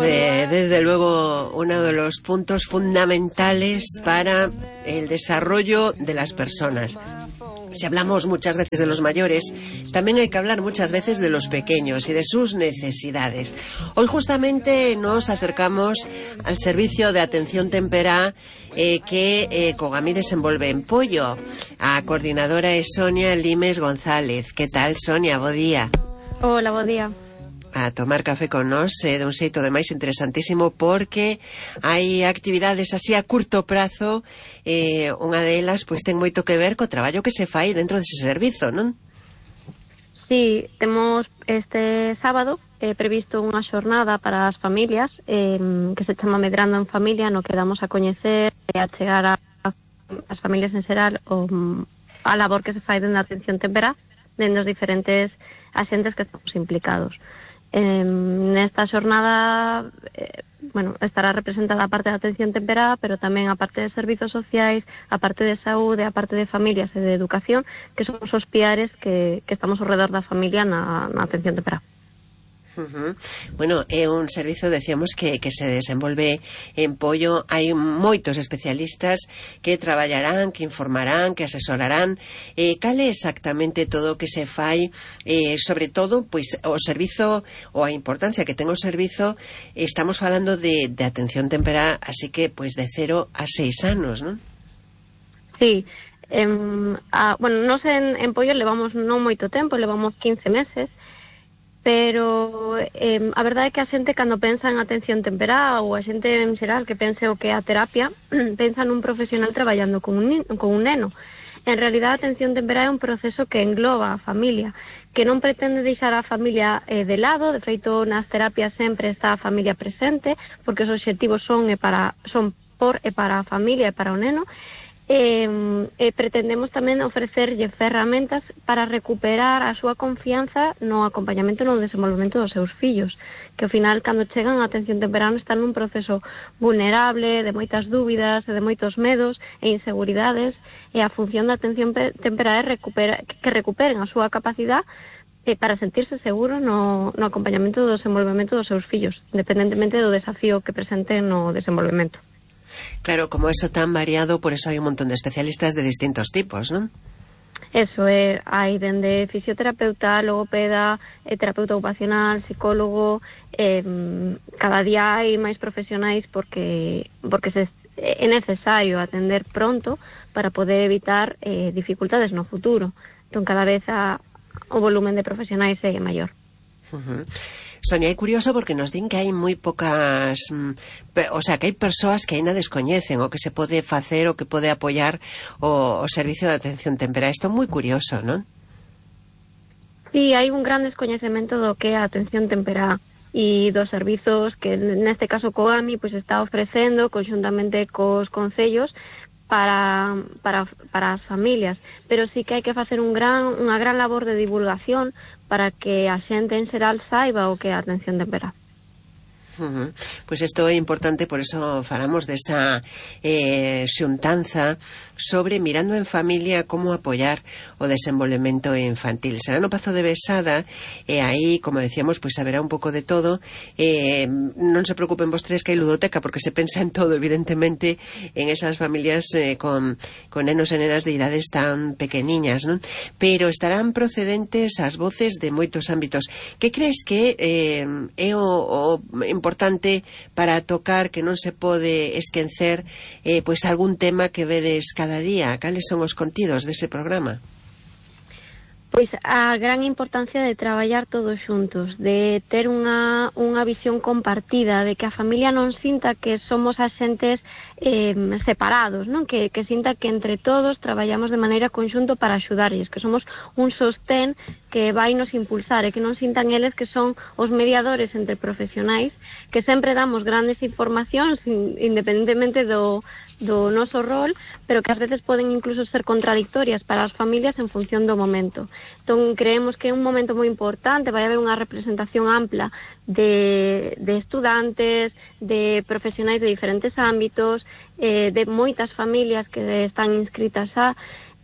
Desde luego, uno de los puntos fundamentales para el desarrollo de las personas. Si hablamos muchas veces de los mayores, también hay que hablar muchas veces de los pequeños y de sus necesidades. Hoy justamente nos acercamos al servicio de atención temperá que Cogami desenvolve en Pollo. A coordinadora es Sonia Limes González. ¿Qué tal, Sonia? Bo día. Hola, bo día. A tomar café con nós de un xeito de máis interesantísimo porque hai actividades así a curto prazo, unha delas pois ten moito que ver co traballo que se fai dentro dese servizo, non? Sí, temos este sábado previsto unha xornada para as familias que se chama Medrando en Familia, no que damos a coñecer e a chegar as familias en xeral a labor que se fai dentro da atención temperá dentro dos diferentes axentes que estamos implicados. Nesta xornada estará representada a parte da atención temperá, pero tamén a parte de servizos sociais, a parte de saúde, a parte de familias e de educación, que son os piares que estamos ao redor da familia na atención temperá. Bueno, é un servizo, decíamos, que se desenvolve en Pollo. Hai moitos especialistas que traballarán, que informarán, que asesorarán. Cal é exactamente todo o que se fai, sobre todo, pois, o servizo, ou a importancia que ten o servizo. Estamos falando de atención temperá, así que, pois, de 0 a 6 anos, non? Sí. Nos en Pollo levamos non moito tempo, levamos 15 meses, pero a verdade é que a xente cando pensa en atención temperá ou a xente en xeral que pense o que é a terapia pensa nun profesional traballando con un neno. En realidad a atención temperá é un proceso que engloba a familia, que non pretende deixar a familia de lado. De feito, nas terapias sempre está a familia presente, porque os obxectivos son por e para a familia e para o neno. Pretendemos tamén ofrecerlle ferramentas para recuperar a súa confianza no acompañamento e no desenvolvemento dos seus fillos, que ao final, cando chegan a atención temperá, están nun proceso vulnerable, de moitas dúbidas, de moitos medos e inseguridades, e a función da atención temperá é que recuperen a súa capacidade para sentirse seguros no acompañamento do desenvolvemento dos seus fillos, independentemente do desafío que presenten no desenvolvemento. Claro, como eso tan variado, por eso hai un montón de especialistas de distintos tipos, non? Eso é, hai dende fisioterapeuta, logopeda, terapeuta ocupacional, psicólogo, cada día hai máis profesionais porque é necesario atender pronto para poder evitar dificultades no futuro. Entón, cada vez o volumen de profesionais é maior. Sonia, é curioso porque nos din que hai moi pocas, que hai persoas que aínda descoñecen o que se pode facer, o que pode apoiar o servicio de atención temperá. Isto é moi curioso, non? Sí, hai un gran descoñecemento do que é a atención temperá e dos servizos que neste caso Cogami está ofrecendo conxuntamente cos concellos para as familias, pero sí que hai que facer unha gran labor de divulgación para que a xente en xeral saiba o que é a atención temperá. Pois isto é importante, por eso falamos desa xuntanza sobre Mirando en Familia como apoiar o desenvolvemento infantil. Será no Pazo de Besada e aí, como decíamos, pois haberá un pouco de todo. Non se preocupen vostedes que hai ludoteca, porque se pensa en todo, evidentemente, en esas familias con nenos e nenas de idades tan pequeniñas, non? Pero estarán procedentes as voces de moitos ámbitos. Que crees que é o importante para tocar, que non se pode esquecer, pois algún tema que vedes cada día? Cales son os contidos dese programa? Pois a gran importancia de traballar todos xuntos, de ter unha visión compartida, de que a familia non sinta que somos axentes separados, non? Que sinta que entre todos traballamos de maneira conxunto para axudarlles, que somos un sostén que vai nos impulsar, e que non sintan eles que son os mediadores entre profesionais, que sempre damos grandes informacións independentemente do noso rol, pero que ás veces poden incluso ser contradictorias para as familias en función do momento. Entón, creemos que é un momento moi importante, vai haber unha representación ampla de estudantes, de profesionais de diferentes ámbitos, de moitas familias que están inscritas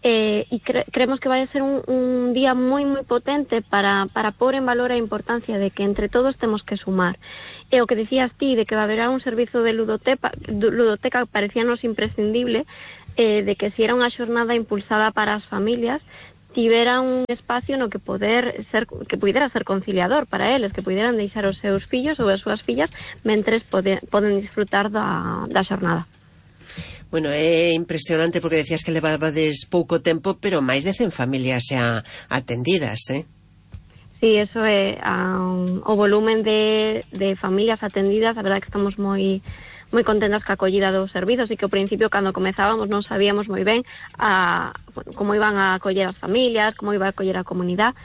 creemos que vai ser un día moi moi potente para pôr en valor a importancia de que entre todos temos que sumar. E o que dicías ti, de que va haber un servizo de ludoteca parecíanos imprescindible, de que si era unha xornada impulsada para as familias, tivera un espacio no que puidera ser conciliador para eles, que puideran deixar os seus fillos ou as súas fillas mentres poden disfrutar da xornada. Bueno, é impresionante porque decías que levabades pouco tempo, pero máis de 100 familias xa atendidas, Sí, eso é o volumen de familias atendidas. A verdade que estamos moi contentas ca acollida dos servizos, e que ao principio, cando comezábamos, non sabíamos moi ben como iban a acoller as familias, como iba a acoller a comunidade,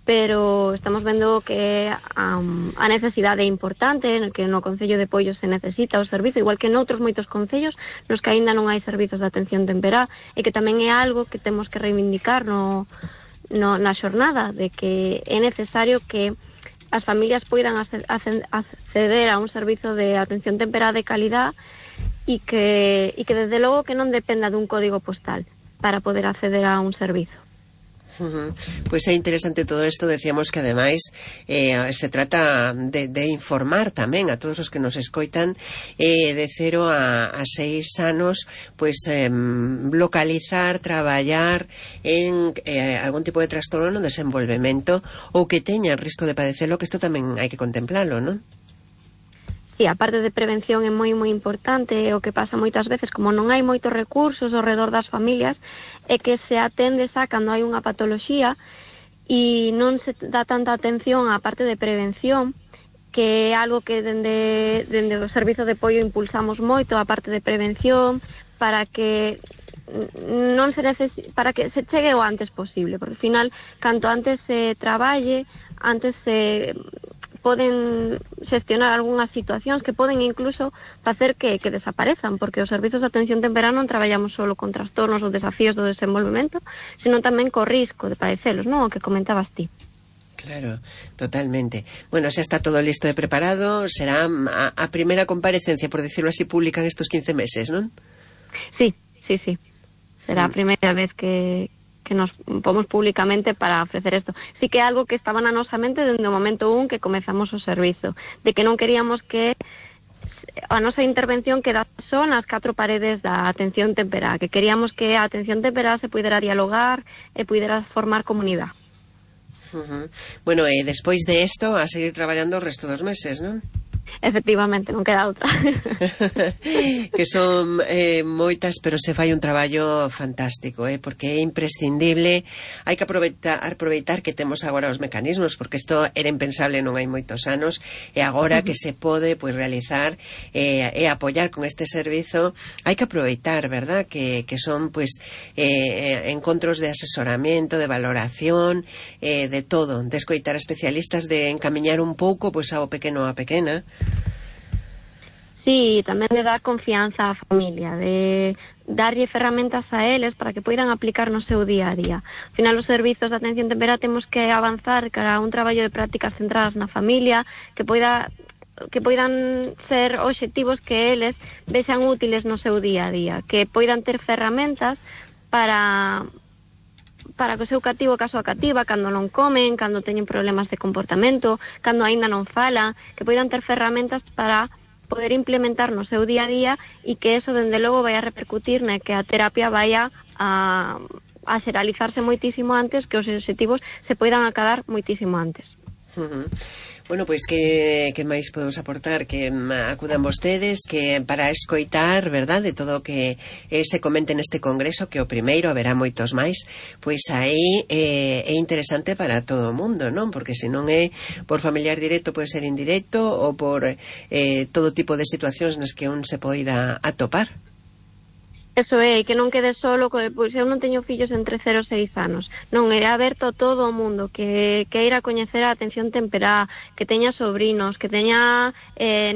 pero estamos vendo que a necesidade é importante, que no Concello de Poio se necesita o servizo, igual que noutros moitos concellos nos que aínda non hai servizos de atención temperá, e que tamén é algo que temos que reivindicar na xornada, de que é necesario que as familias poidan acceder a un servizo de atención temperá de calidad, e que desde logo que non dependa dun código postal para poder acceder a un servizo. Pois é interesante todo isto. Decíamos que ademais se trata de informar tamén a todos os que nos escoitan, de 0 a 6 anos, pois localizar, traballar en algún tipo de trastorno no desenvolvemento ou que teña risco de padecelo, que isto tamén hai que contemplalo, non? Sí, a parte de prevención é moi moi importante. O que pasa moitas veces, como non hai moitos recursos ao redor das familias, é que se atende xa cando hai unha patoloxía e non se dá tanta atención á parte de prevención, que é algo que dende o Servizo de Apoio impulsamos moito, a parte de prevención, para que para que se chegue o antes posible, porque ao final, canto antes se traballe, antes se poden xestionar algunhas situacións que poden incluso facer que desaparezan, porque os servizos de atención temperá non traballamos solo con trastornos ou desafíos do desenvolvemento, senón tamén co risco de padecelos, non? O que comentabas ti. Claro, totalmente. Bueno, xa está todo listo e preparado. Será a primeira comparecencia, por decirlo así, pública en estos 15 meses, non? Sí. Será a primeira vez que nos pomos públicamente para ofrecer isto. Sí que é algo que estaba na nosa mente desde o momento que comezamos o servizo, de que non queríamos que a nosa intervención quedase só nas 4 paredes da atención temperá, que queríamos que a atención temperá se pudera dialogar e pudera formar comunidade. Bueno, e despois de isto a seguir traballando o resto dos meses, non? Efectivamente, non queda outra. Que son moitas, pero se fai un traballo fantástico, porque é imprescindible. Hai que aproveitar que temos agora os mecanismos, porque isto era impensable non hai moitos anos, e agora que se pode realizar e apoiar con este servizo, hai que aproveitar, verdad, que son encontros de asesoramento, de valoración, de todo, de escoitar a especialistas, de encamiñar un pouco ao pequeno a pequena. Sí, tamén de dar confianza á familia, de darlle ferramentas a eles para que poidan aplicar no seu día a día. Ao final, os servizos de atención temperá temos que avanzar cara a un traballo de prácticas centradas na familia, que poidan ser obxectivos que eles vexan útiles no seu día a día, que poidan ter ferramentas para que o seu cativo, caso a cativa, cando non comen, cando teñen problemas de comportamento, cando aínda non falan, que poidan ter ferramentas para poder implementar no seu día a día, e que eso, dende logo, vai a repercutir que a terapia vai a xeralizarse moitísimo antes, que os obxectivos se poidan acadar moitísimo antes. Bueno, pois que máis podemos aportar? Que acudan vostedes, que para escoitar, verdad, de todo o que se comente neste congreso, que o primeiro, haberá moitos máis, pois aí é interesante para todo o mundo, non? Porque se non é por familiar directo, pode ser indirecto, ou por todo tipo de situacións nas que un se poida atopar. Eso é, que non quede solo, pois eu non teño fillos entre 0 e 6 anos. Non, é aberto a todo o mundo, que queira coñecer a atención temperá, que teña sobrinos, que teña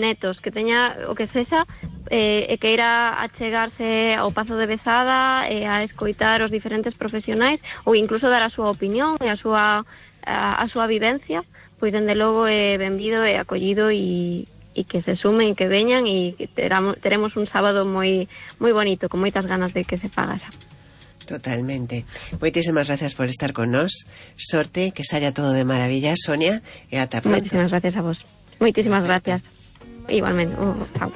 netos, que teña o que sexa, e queira achegarse ao Pazo de Besada, a escoitar os diferentes profesionais, ou incluso dar a súa opinión e a súa vivencia, pois dende logo é benvido e acollido, e que se sumen, que veñan, e que teremos un sábado moi moi bonito, con moitas ganas de que se faga xa. Totalmente. Moitísimas gracias por estar con nós. Sorte, que saia todo de maravilla, Sonia, e ata pronto. Moitísimas gracias a vos. Moitísimas gracias. Igualmente. Chao.